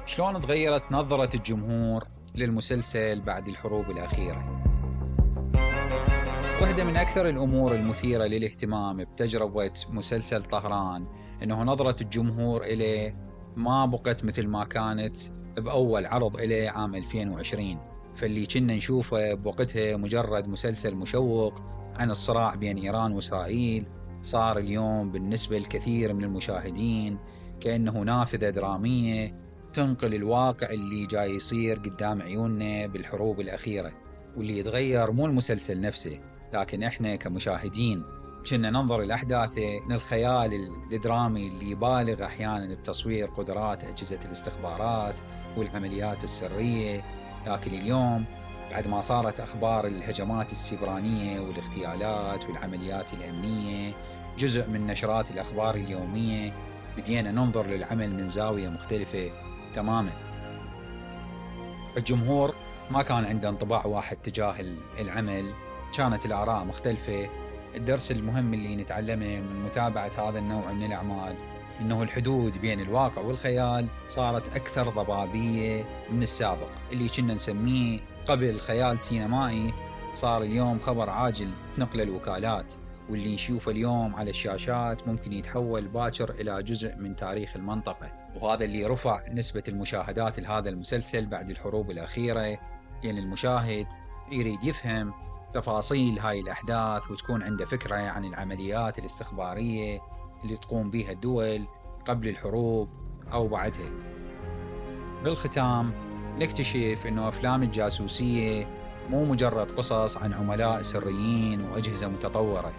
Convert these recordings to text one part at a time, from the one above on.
شلون تغيرت نظرة الجمهور للمسلسل بعد الحروب الأخيرة؟ واحدة من أكثر الأمور المثيرة للاهتمام بتجربة مسلسل طهران إنه نظرة الجمهور إليه ما بقت مثل ما كانت بأول عرض إليه عام 2020. فاللي كنا نشوفه بوقتها مجرد مسلسل مشوق عن الصراع بين إيران وإسرائيل، صار اليوم بالنسبة لكثير من المشاهدين كأنه نافذة درامية تنقل الواقع اللي جاي يصير قدام عيوننا بالحروب الأخيرة. واللي يتغير مو المسلسل نفسه، لكن إحنا كمشاهدين كنا ننظر الأحداث للخيال الدرامي اللي يبالغ أحيانا بتصوير قدرات أجهزة الاستخبارات والعمليات السرية. لكن اليوم بعد ما صارت أخبار الهجمات السبرانية والاغتيالات والعمليات الأمنية جزء من نشرات الأخبار اليومية، بدينا ننظر للعمل من زاوية مختلفة تماما. الجمهور ما كان عنده انطباع واحد تجاه العمل، كانت الآراء مختلفة. الدرس المهم اللي نتعلمه من متابعة هذا النوع من الأعمال إنه الحدود بين الواقع والخيال صارت أكثر ضبابية من السابق. اللي كنا نسميه قبل خيال سينمائي صار اليوم خبر عاجل تنقل الوكالات، واللي نشوفه اليوم على الشاشات ممكن يتحول باكر إلى جزء من تاريخ المنطقة. وهذا اللي رفع نسبة المشاهدات لهذا المسلسل بعد الحروب الأخيرة، لأن المشاهد يريد يفهم تفاصيل هاي الأحداث وتكون عنده فكرة عن العمليات الاستخبارية اللي تقوم بها الدول قبل الحروب أو بعدها. بالختام نكتشف إنه أفلام الجاسوسية مو مجرد قصص عن عملاء سريين وأجهزة متطورة،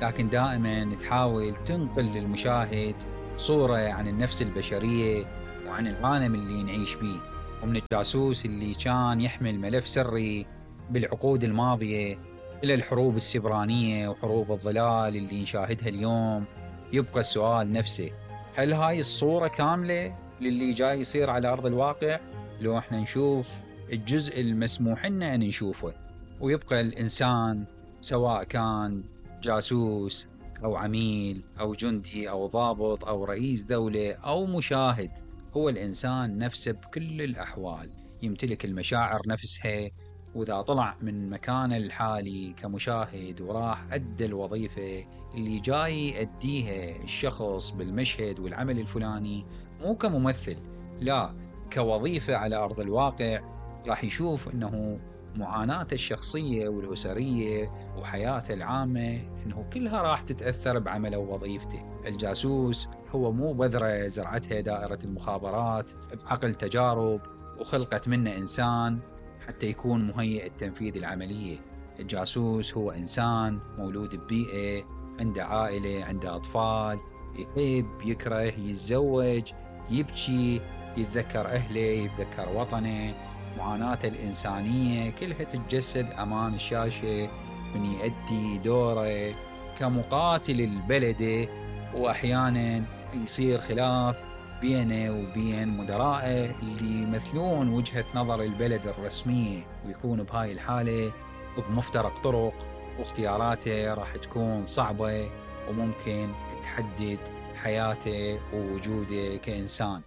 لكن دائما تحاول تنقل للمشاهد صورة عن النفس البشرية وعن العالم اللي نعيش بيه. ومن الجاسوس اللي كان يحمل ملف سري بالعقود الماضية إلى الحروب السبرانية وحروب الظلال اللي نشاهدها اليوم، يبقى السؤال نفسه: هل هاي الصورة كاملة للي جاي يصير على أرض الواقع؟ لو احنا نشوف الجزء المسموح لنا أن نشوفه، ويبقى الإنسان سواء كان جاسوس أو عميل أو جندي أو ضابط أو رئيس دولة أو مشاهد، هو الإنسان نفسه بكل الأحوال يمتلك المشاعر نفسها. وإذا طلع من مكانه الحالي كمشاهد وراح أدى الوظيفة اللي جاي يأديها الشخص بالمشهد والعمل الفلاني، مو كممثل، لا كوظيفة على أرض الواقع، راح يشوف أنه معاناته الشخصية والأسرية وحياته العامة أنه كلها راح تتأثر بعمله ووظيفته. الجاسوس هو مو بذرة زرعتها دائرة المخابرات بعقل تجارب وخلقت منه إنسان حتى يكون مهيئ التنفيذ العملية. الجاسوس هو إنسان مولود ببيئة، عنده عائلة، عنده أطفال، يحب، يكره، يتزوج، يبكي، يتذكر أهله، يتذكر وطنه. معاناته الإنسانية كلها تتجسد أمام الشاشة من يؤدي دوره كمقاتل البلد. وأحيانا يصير خلاف بينه وبين مدرائه اللي يمثلون وجهة نظر البلد الرسمية، ويكون بهاي الحالة بمفترق طرق، واختياراته راح تكون صعبة وممكن تحدد حياته ووجوده كإنسان.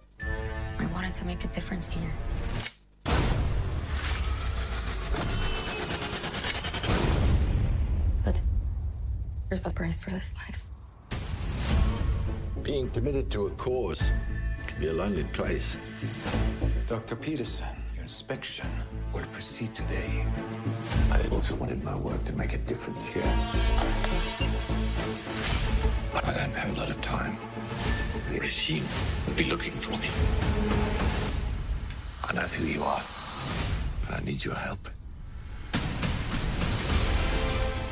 I wanted to make a difference here. But there's a price for this life. Being committed to a cause can be a lonely place. Dr. Peterson, your inspection will proceed today. I also wanted my work to make a difference here. But I don't have a lot of time. The regime will be looking for me. I know who you are, but I need your help.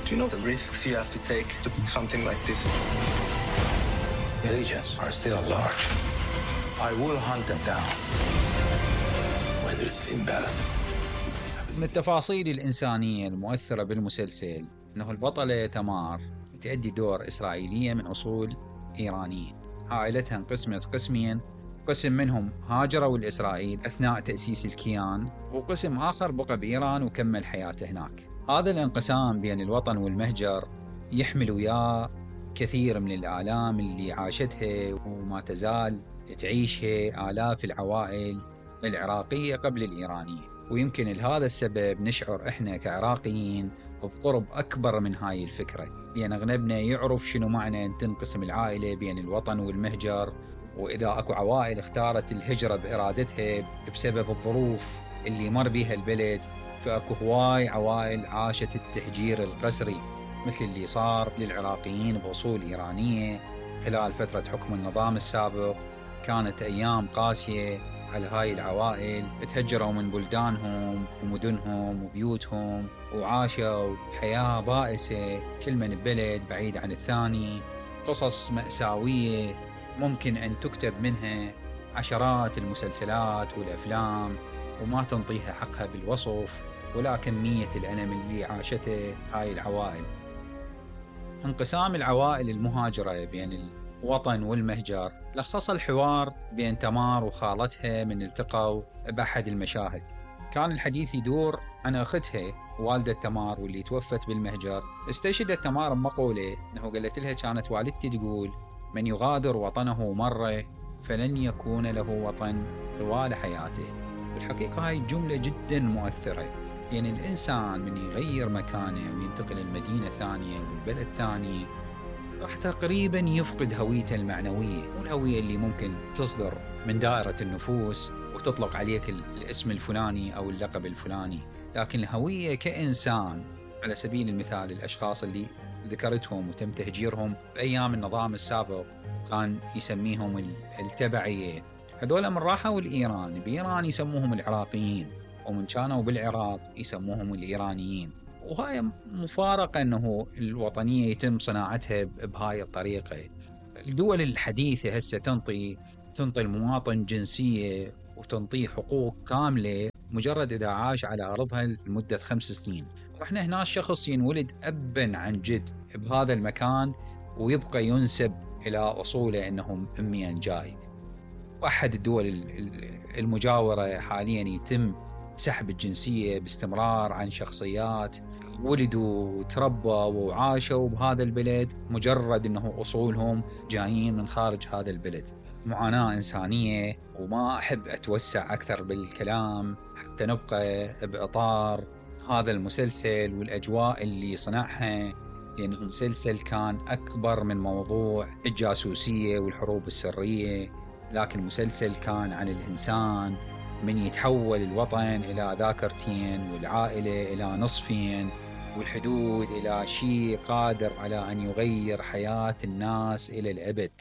Do you know the risks you have to take to do something like this? The agents are still large. I will hunt them down. Whether it's imbalance. من التفاصيل الإنسانية المؤثرة بالمسلسل أنه البطلة تمار تؤدي دور إسرائيلية من أصول إيرانية. عائلتها انقسمت قسمين، قسم منهم هاجروا لإسرائيل أثناء تأسيس الكيان، وقسم آخر بقى بإيران وكمل حياته هناك. هذا الانقسام بين الوطن والمهجر يحمل وياه كثير من الآلام اللي عاشتها وما تزال تعيشها آلاف العوائل العراقية قبل الإيرانية، ويمكن لهذا السبب نشعر إحنا كعراقيين بقرب أكبر من هاي الفكرة، لأن أغلبنا يعرف شنو معنى أن تنقسم العائلة بين الوطن والمهجر. وإذا أكو عوائل اختارت الهجرة بإرادتها بسبب الظروف اللي مر بيها البلد، فأكو هواي عوائل عاشت التهجير القسري، مثل اللي صار للعراقيين بأصول إيرانية خلال فترة حكم النظام السابق. كانت أيام قاسية على هاي العوائل، تهجروا من بلدانهم ومدنهم وبيوتهم، وعاشوا حياة بائسة، كل من ببلد بعيد عن الثاني. قصص مأساوية ممكن أن تكتب منها عشرات المسلسلات والأفلام، وما تنطيها حقها بالوصف ولا كمية الألم اللي عاشته هاي العوائل. انقسام العوائل المهاجرة بين الوطن والمهجر لخص الحوار بين تمار وخالتها من التقوا بأحد المشاهد. كان الحديث يدور عن أختها والدة تمار واللي توفت بالمهجر. استشهدت تمار بمقولة أنه قالت لها كانت والدتي تقول: من يغادر وطنه مرة فلن يكون له وطن طوال حياته. والحقيقة هاي الجملة جدا مؤثرة، لأن الإنسان من يغير مكانه وينتقل المدينة ثانية والبلد ثاني راح تقريبا يفقد هويته المعنوية، والهوية اللي ممكن تصدر من دائرة النفوس وتطلق عليك الاسم الفلاني أو اللقب الفلاني. لكن الهوية كإنسان، على سبيل المثال الأشخاص اللي ذكرتهم وتم تهجيرهم بأيام النظام السابق كان يسميهم التبعية، هذول من راحوا الإيران بإيران يسموهم العراقيين، ومن كانوا بالعراق يسموهم الإيرانيين. وهاي مفارقة أنه الوطنية يتم صناعتها بهاي الطريقة. الدول الحديثة هسه تنطي المواطن جنسية وتنطيه حقوق كاملة مجرد إذا عاش على أرضها لمدة 5 سنين. وإحنا هنا الشخص ينولد أبا عن جد بهذا المكان ويبقى ينسب إلى أصوله أنه أميا جاي. وأحد الدول المجاورة حاليا يتم سحب الجنسية باستمرار عن شخصيات ولدوا وتربوا وعاشوا بهذا البلد مجرد أنه أصولهم جايين من خارج هذا البلد. معاناة إنسانية، وما أحب أتوسع أكثر بالكلام حتى نبقى بإطار هذا المسلسل والأجواء اللي صنعها، لأنه مسلسل كان أكبر من موضوع الجاسوسية والحروب السرية، لكن مسلسل كان عن الإنسان من يتحول الوطن إلى ذاكرتين والعائلة إلى نصفين والحدود إلى شيء قادر على أن يغير حياة الناس إلى الأبد.